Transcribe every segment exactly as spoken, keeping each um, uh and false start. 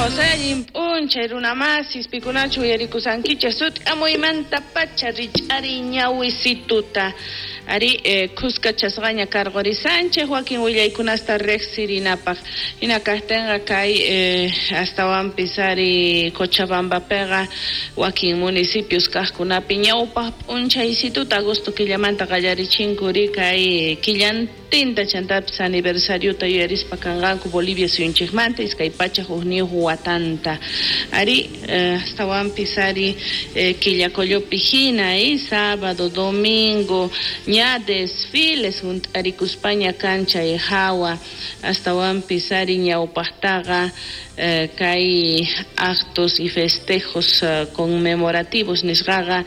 Kawsay allin p'unchay runamasis pikunachu uyarikusankichej sut'amuymanta pacha rich'ari ñawisituta ari eh, khuskachasqaña karqurisanchej wakin willaykunasta riqsirinapaq hina kaqtinqa kay eh, astawanpis ari Cochabambapiqa wakin municipios kaqkunapi ñawpaq p'unchaysituta agosto killamanta qallarichinkuri kay killantinta chantapis aniversariota yuyarispa kanqanku Bolivia suyunchikmanta iskay pachak hukniyuq watanta ari eh, astawanpis ari eh, Quillacollopi hina eh, sábado, domingo ña desfiles hunt'arikuspaña kan chay hawa astawanpis ari ñawpaqtaqa eh, kay actos y festejos eh, conmemorativos nisqaqa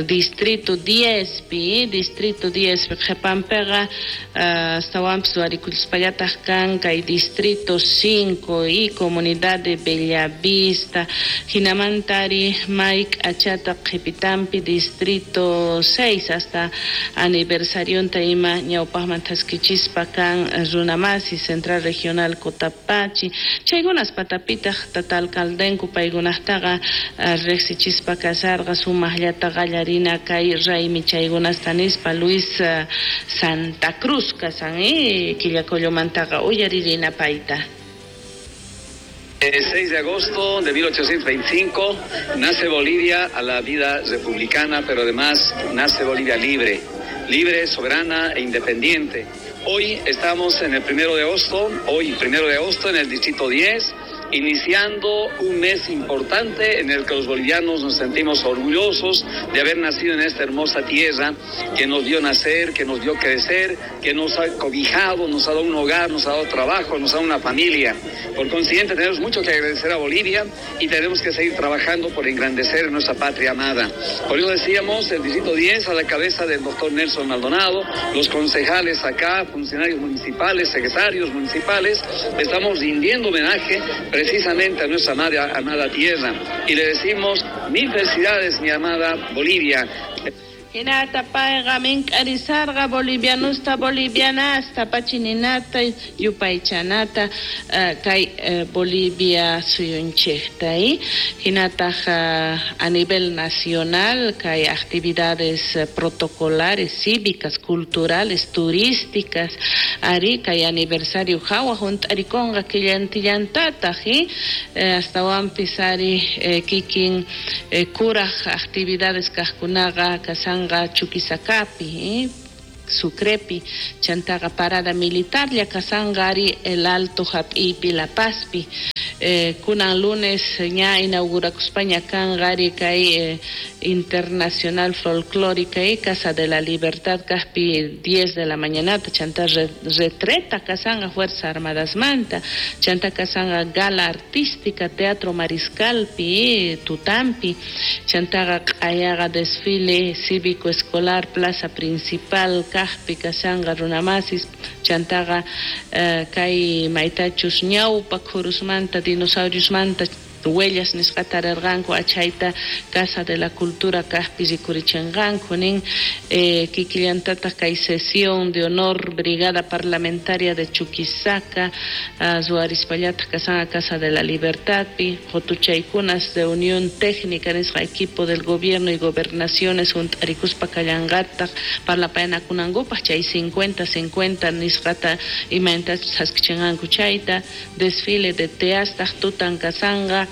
distrito diez pi distrito diez pi qhipanpiqa eh, astawanpis ruwarikuspallataq kan kay distrito cinco y comunidad de Bellavista hinamanta ari may k'achata qhipitanpi distrito seis hasta aniversarionta ima ñawpaqman thaskichispa kan runamasi Central Regional Cotapachi chaykunas patapitaq tata alcaldenku paykunaqtaqa riqsichispa kasarqa sumaqllata qallarina kay raymi chaykunasta nispa Luis Santa Cruz kasan eh, Quillacollomantaqa uyaririna payta. El seis de agosto de mil ochocientos veinticinco nace Bolivia a la vida republicana, pero además nace Bolivia libre, libre, soberana e independiente. Hoy estamos en el primero de agosto, hoy primero de agosto en el distrito diez, iniciando un mes importante en el que los bolivianos nos sentimos orgullosos de haber nacido en esta hermosa tierra que nos vio nacer, que nos vio crecer, que nos ha cobijado, nos ha dado un hogar, nos ha dado trabajo, nos ha dado una familia. Por consiguiente, tenemos mucho que agradecer a Bolivia y tenemos que seguir trabajando por engrandecer nuestra patria amada. Por eso decíamos, el distrito diez a la cabeza del doctor Nelson Maldonado, los concejales acá, funcionarios municipales, secretarios municipales, estamos rindiendo homenaje precisamente a nuestra amada, amada tierra y le decimos mil felicidades, mi amada Bolivia. Hinata payqa mink'arisarqa bolivianusta bolivianasta pachininata yupaychanata uh, kay uh, Bolivia suyunchikta eh? Hinataq uh, a nivel nacional kay actividades uh, protocolares, cívicas, culturales, turísticas ari kay aniversario hawa hunt'arikunqa killantillantataq eh? Uh, astawanpis ari eh, kikin eh, kuraj actividades kaqkunaqa kasan Chuquisacapi, eh? Sucrepi, chantaqa parada militar, llakasanqa ari el Alto hap'ipi La Pazpi. Eh, kunan lunes ña inaugurakuspaña kanqa ari kay eh, Internacional Folclórica y Casa de la Libertad kaqpi diez de la mañanata, chanta re, retreta kasanqa Fuerza Armadas manta, chanta kasanqa gala artística Teatro Mariscalpi, eh, Tutampi, chantaqa q'ayaqa desfile cívico escolar Plaza Principal kaqpi kasanqa runamasis, chantaqa eh, kay maytachus ñawpa khurusmanta dinosaurios manta huellas nisqata rirqanku achayta Casa de la Cultura kaqpi rikurichinqanku nin eh, kikillantataq kay sesión de honor Brigada Parlamentaria de Chuquisaca uh, ruwarispallataq kasanqa Casa de la Libertadpi qutuchaykunas de Unión Técnica nisqa equipo del gobierno y gobernaciones hunt'arikuspa kallanqataq parlapayanakunankupaq chay cincuenta cincuenta nisqata imaynatachus haskichinqanku chayta desfile de teastaq tutan kasanqa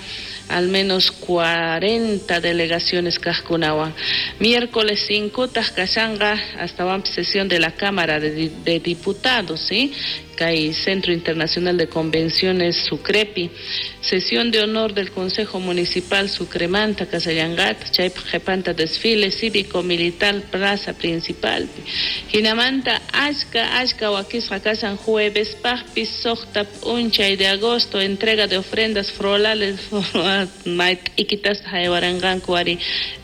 al menos cuarenta delegaciones kaqkunawan. Miércoles cinco taq kasanqa hasta sesión de la Cámara de, de Diputados, ¿sí? Kay Centro Internacional de Convenciones Sucrepi, sesión de honor del Consejo Municipal Sucremanta, Casallangat, chaypaq qhipanta desfile cívico militar Plaza Principal. Hinamanta achka achka wakisqa kasan jueves paqpis suqta p'unchay de agosto entrega de ofrendas florales mayt'ikitas haywaranqanku ari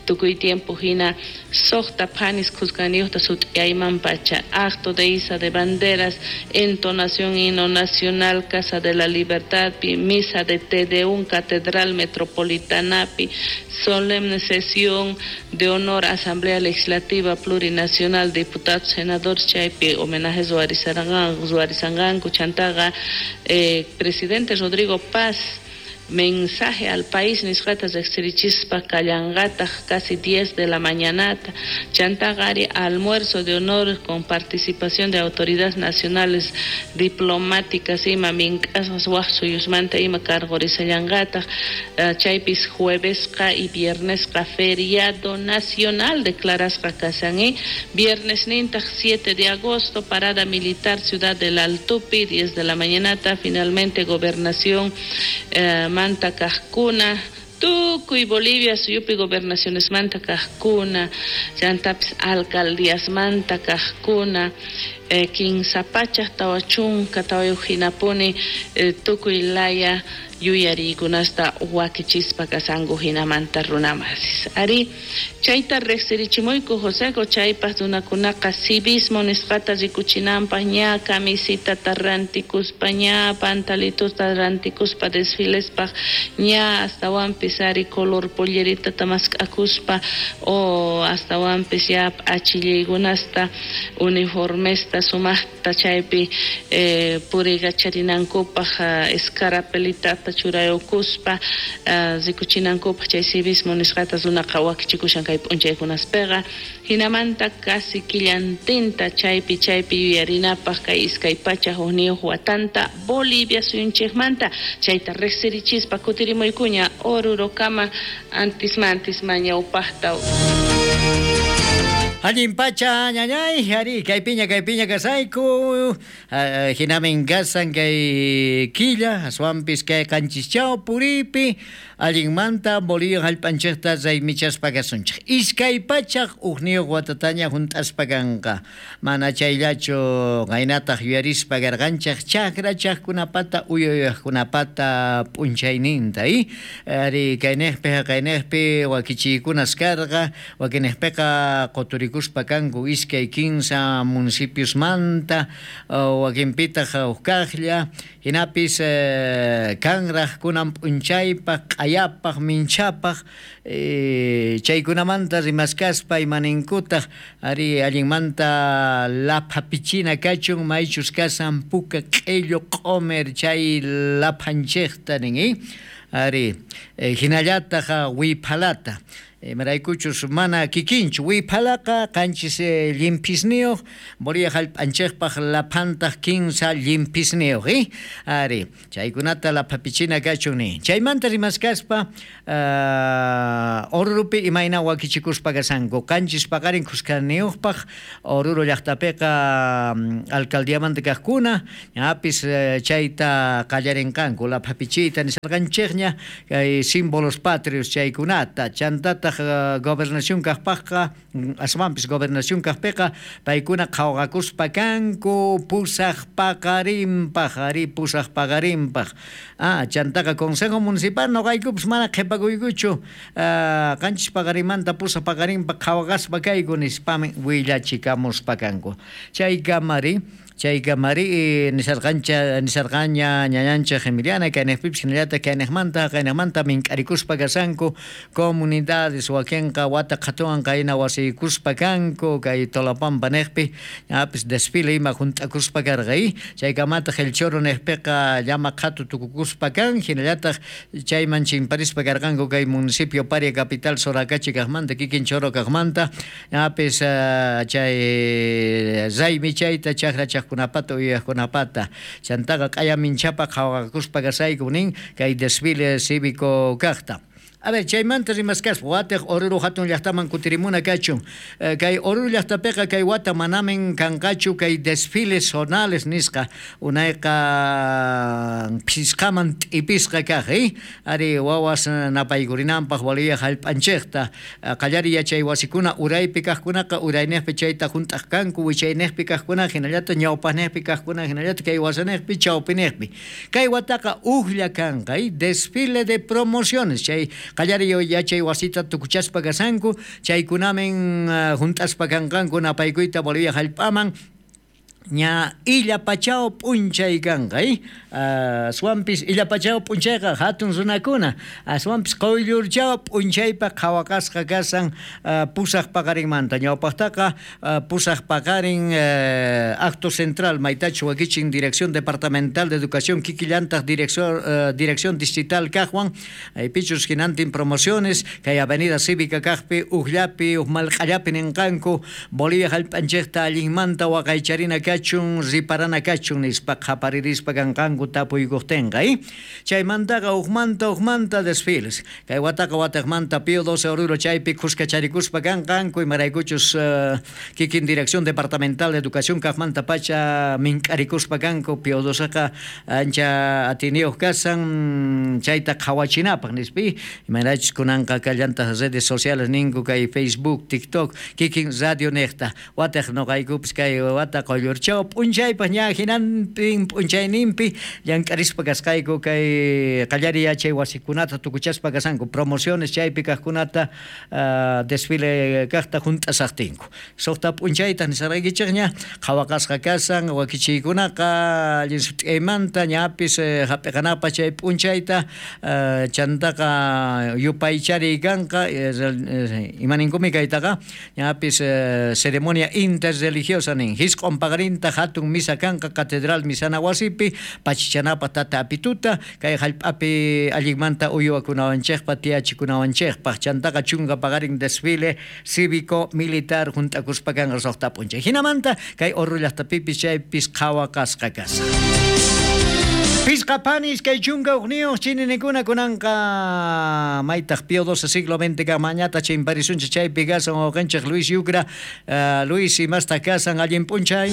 tukuy tiempo hina suqta phanis khuskaniyuqta sut'iyayman pacha acto de iza de banderas entonación himno nacional Casa de la Libertad pi misa de Te Deum Catedral Metropolitanapi solemne sesión de honor Asamblea Legislativa Plurinacional diputados senadores chaypi homenajes ruwarisanqanku chantaqa eh, presidente Rodrigo Paz Mensaje al país nisqata riqsirichispa kallanqataq casi diez de la mañanata. Chantaqa ari almuerzo de honor con participación de autoridades nacionales diplomáticas ima mink'asqas waj suyusmanta ima cargorisallanqataq. Chaypis juevesqa y viernesqa feriado nacional declarasqa kasan. Viernes nintaq siete de agosto parada militar Ciudad del Altupi diez de la mañanata. Finalmente gobernación eh, manta kajkuna tukuy Bolivia suyupi gobernaciones manta kajkuna chantapis alcaldías manta kajkuna eh, kinsa pachaj tawa chunka tawayuq hinapuni eh, tukuy laya yuyariykunasta wakichispa kasanku hinamanta runamasis. Ari chayta riqsirichimuyku Joseco chaypaq runakunaqa civismo nisqata rikuchinanpaq ña camisitata rantikuspa ña pantalitusta rantikuspa desfilespaq ña astawanpis ari color polleritata mask'akuspa o astawanpis ya p'achillaykunasta uniformesta sumaqta chaypi eh, puriykacharinankupaq escarapelitata churayukuspa rikuchinankupaq chay civismo nisqata runaqa wakichikushan kay p'unchaykunaspiqa. Hinamanta casi killantinta chaypi chaypi yuyarinapaq kay iskay pachaj hukniyuq watanta Bolivia suyunchikmanta chayta riqsirichispa kutirimuykuña Orurokama antismantisma ñawpaqta. Allin pacha ñañay, ari, kay piña, kay piña kasayku, hinamin kasan kay killa, aswanpis kay qanchischao puripi, allinmanta Bolivia hallp'anchikta raymichaspa kasunchik. Iskay pachaj hukniyuq watataña hunt'aspa kanqa. Mana chayllachu qaynataq yuyarispa karqanchik chakra chaqkunapata uyuyaqkunapata p'unchayninta, i? Ari, kayniqpi haqayniqpi wakichiykunas karqa, wakinniqpiqa quturikuspa kanku iskay kinsa municipios manta wakinpitaq huk kaqlla hinapis kanraq kunan p'unchaypaq q'ayapaq minchapaq chaykunamanta rimaskaspa imaninkutaq ari allinmanta laphapichina kachun maychus kasan puka q'illu q'umir chay laphanchikta nin ari hinallataq wiphalata maraykuchus mana kikinchu wipalaqa qanchis llimpisniyuq Bolivia hallp'anchikpaq laphantaq kinsa llimpisniyuq eh ari chaykunata laphapichina kachun nin chaymanta rimaskaspa Orurupi imayna wakichikuspa kasanku qanchis paqarin khuskaniyuqpaq Oruro llaqtapiqa alcaldiamanta kaqkuna ñapis chayta qallarinqanku laphapichiyta nisarqanchikña kay símbolos patrios chaykunata chantataq gobernación kaqpaqqa aswanpis gobernación kaqpiqa paykuna qhawqakuspa kanku pusaq paqarinpaq ari pusaq paqarinpaq ah chantaqa consejo municipal noqaykupis mana qhipakuykuchu qanchis paqarinmanta pusaq paqarinpaq qhawqaspa kayku nispami willachikamuspa kanku chaykamari chaykamari nisarqancha nisarqaña ñañanchik Emiliana kayniqpipis hinallataq kayniqmanta kayniqmanta mink'arikuspa kasanku comunidades wakinqa wata qhatuwan qayna wasiykuspa kanku kay Tolapampa niqpi ñapis desfile ima hunt'akuspa karqa chaykamataq El Choro niqpiqa llama qhatu tukukuspa kan hinallataq chayman chimparispa karqanku kay municipio Paria capital Soracachi kaqmanta kikin Choro kaqmanta ñapis chay raymi chayta chakra kunapata uyaqkunapata chantaqa q'aya minchapa qhawaqakuspa kasayku nin kay desfile cívico kaqta. A ver, chaymanta rimaskaspa watiq Oruro hatun llaqtaman kutirimuna kachun kay Oruro llaqtapiqa kay wata manamin kanqachu kay desfiles zonales nisqa unayqa phisqaman t'ipisqa kaq eh ari wawas napaykurinanpaq Bolivia hallp'anchikta qallari yachay wasikuna uraypi kaqkunaqa urayniqpi chayta hunt'aq kanku wichayniqpi kaqkuna hinallataq ñawpaqniqpi kaqkuna hinallataq kay wasaniqpi chawpiniqpi kay wataqa ujlla kanqa desfile de promociones chay qallari yachay wasita tukuchaspa kasanku chaykunamin hunt'aspa kanqanku napaykuyta Bolivia hallp'aman Ña illapachao p'unchay kanqa, eh? Aswanpis illapachao p'unchayqa hatun runakuna, aswanpis quyllurchao p'unchaypa qhawaqasqa kasan pusaq paqarinmanta. Ñawpaqtaqa pusaq paqarin acto central maytachu wakichin Dirección Departamental de Educación kikillantaq Dirección Dirección Distrital kaqwan, aypichus hinantin promociones kay Avenida Cívica kaqpi ujllapi ujmalq'allapi ninqanku Bolivia hallp'anchikta allinmanta waqaycharina kachun riparana kachun nispa qhaparirispa kanqanku tapuykuqtinqa, eh? Chaymantaqa ujmanta ujmanta desfiles kay wataqa wataqmanta Pío doce Oruro chaypi khuskacharikuspa kanqanku imaraykuchus uh, kikin Dirección Departamental de Educación kaqmanta pacha mink'arikuspa kanku Pío doceqa ancha atiniyuq kasan chayta qhawachinapaq nispi imaraychus kunanqa kallantaq redes sociales ninku kay Facebook, TikTok kikin radio niqta wataq nuqaykupis kay wata quyllur chaw p'unchaypaq ña hinantin p'unchayninpi llank'arispa kasqayku kay qallariy yachay wasikunata tukuchaspa kasanku promociones chaypi kaqkunata uh, desfile kaqta hunt'asaqtinku suqta p'unchayta nisarqaykichikña qhawaqasqa kasan wakichiykunaqa allin sut'iymanta ñapis eh, hap'iqanapaq chay p'unchayta uh, chantaqa yupaychariy kanqa eh, imaninkumi kaytaqa ñapis eh, ceremonia interreligiosa nin hisq'un paqarin hatun misa kanqa catedral misana wasipi pachichanapaq tata apituta kay hallp'api allinmanta uywakunawanchikpaq tiyachikunawanchikpaq chantaqa chunka paqarin desfile cívico militar hunt'akuspa kanqa suqta p'unchay hinamanta kay Oruro llaqtapipis chaypis qhawaqasqa kasan. Pisqa panis kay chunka uqniyuq chininikuna kunanqa maytaq Pío doce siglo veinte kamañata chimparisunchik chaypi kasan wawqinchik Luis Yucra. uh, Luis imasta kasan allin p'unchay.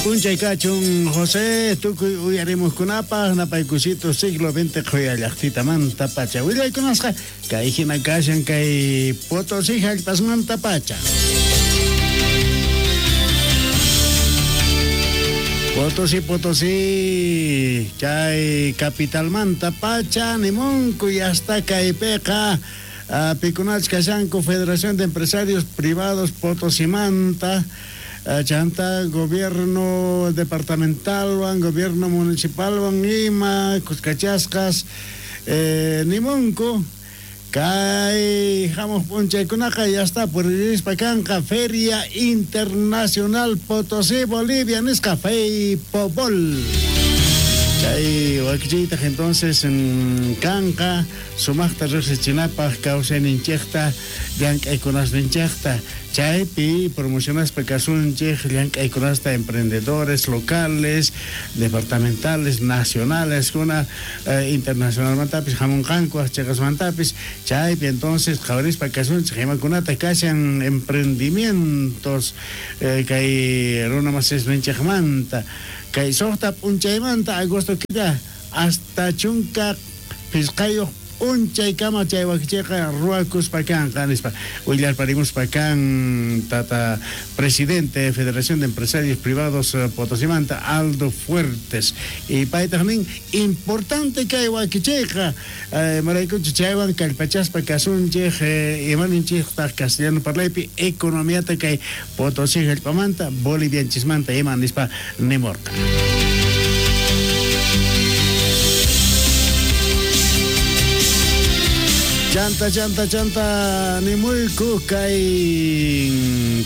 P'unchay kachun José tukuy uyarimuqkunapaq napaykusito siglo veinte qhuyallaqtitamanta pacha willaykunasqa kay hina kashan kay Potosí hallp'asmanta pacha. Potosí, Potosí, chay capitalmanta pacha nimunku y hasta kaypiqa uh, pikunach kashanku Federación de Empresarios Privados Potosimanta, uh, chanta gobierno departamentalwan, gobierno municipalwan ima, kuskachasqas, eh, nimunku kay hamuq p'unchaykunaqa ya está puririspa kanqa Feria Internacional Potosí Bolivia nisqa FEIPOBOL. Chay wakichiytaq entonces kanqa sumaqta riqsichinapaq kawsayninchikta llank'aykunasninchikta chaypi promocionaspa kasunchik llank'aykunasta emprendedores locales, departamentales, nacionales kuna eh, internacionalmantapis hamunqanku chiqasmantapis chaypi entonces qhawarispa kasunchik imakunata kashan emprendimientos eh, kay runa masisninchikmanta kay suqta p'unchaymanta agosto killa hasta chunka pisqayuq p'unchaykama chay wakichiyqa ruwakuspa kanqa nispa willarparimuspa kan tata presidente de Federación de Empresarios Privados Potosimanta Aldo Fuertes y paytaq nin importante kay wakichiyqa eh, maraykuchu chaywan kallpachaspa kasunchik eh, imaninchiktaq castellano parlaypi economiata kay Potosí hallp'amanta bolivianchismanta ima nispa nimurqa. Chanta, chanta, chanta, nimuyku kay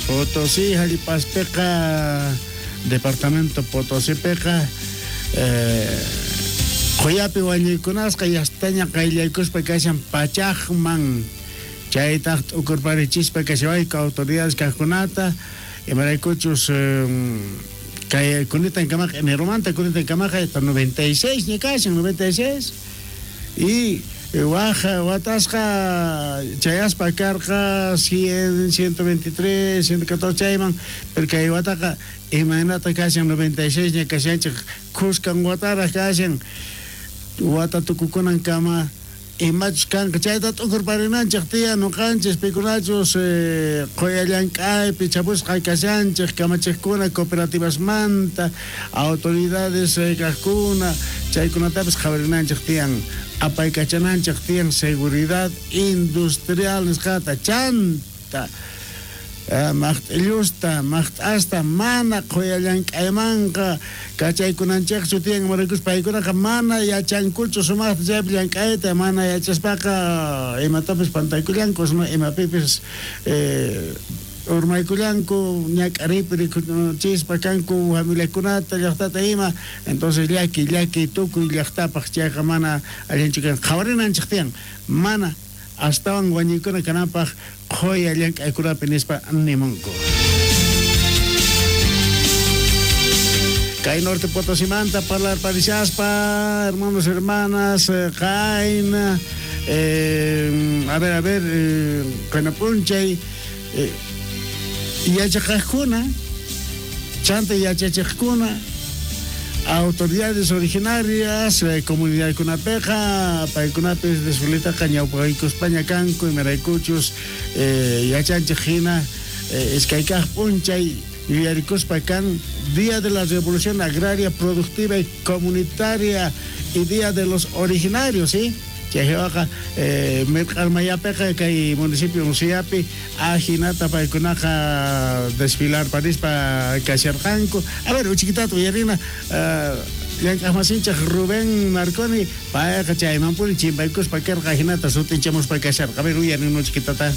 Potosí hallp'aspiqa departamento Potosípiqa eh, quyapi wañuykunasqa yastaña qayllaykuspa kashan pachaqman chaytaq t'ukurparichispa kashawayku autoridades kaqkunata imaraykuchus eh, kay kunitan kamaqa eneromanta kunitan kamaqa hasta noventa y seis ña kashan noventa y seis y waja watasqa chayaspa karqa cien, ciento veintitrés, ciento catorce chayman pero kay wataqa imaynata kashan noventa y seis ña kashanchik khuskan wataraq kashan wata tukukunan kama imachus kanqa chayta t'ukurparinanchik tiyan nuqanchis pikunachus eh, quya llank'aypi chapusqa kashanchik kamachiqkuna cooperativasmanta autoridades eh, kaqkuna chaykunatapis qhawarinanchik tiyan apaykachananchik tiyan seguridad industrial nisqata chanta Maqt'illusta, maqt'asta mana qhuyallank'aymanqa kachaykunanchikchu tiyan, imaraykus paykunaqa mana yachankuchu sumaqta chaypi llank'ayta, mana yachaspaqa imatapis pantaykullanku, imapipis eh, urmaykullanku, ñak'ariypi rikuchispa kanku familiakunata, llaqtata ima. Entonces llaki, llaki tukuy llaqtapaq chayqa mana allinchu kan. Qhawarinanchik tiyan, mana astawan wañuykuna kananpaq qhuya llank'aykunapi nispa nimunku. Kay Norte Potosimanta parlarparishaspa, hermanos, hermanas, qayna, eh, a ver, a ver, eh, qayna p'unchay, eh, yachaqajkuna, chanta yachachiqkuna, autoridades originarias, eh, comunidadkunapiqa, paykunapis desfiletaqa ñawpaqaykuspaña kanku, imaraykuchus eh, yachanchik hina, eh, iskaykaq p'unchay yuyarikuspa kan Día de la Revolución Agraria Productiva y Comunitaria y Día de los Originarios, ¿sí? Chaywaqa eh, mirq'armayapiqa kay municipio Unciapi ajinata paykunaqa desfilar parispa kasharqanku. A ver, uchikitata uyarina, uh, llank'aqmasinchik Rubén Marconi payqa chaymanpuni chimpaykuspa karqa ajinata sutinchamuspa kasharqa. A ver, uyarina uchikitata.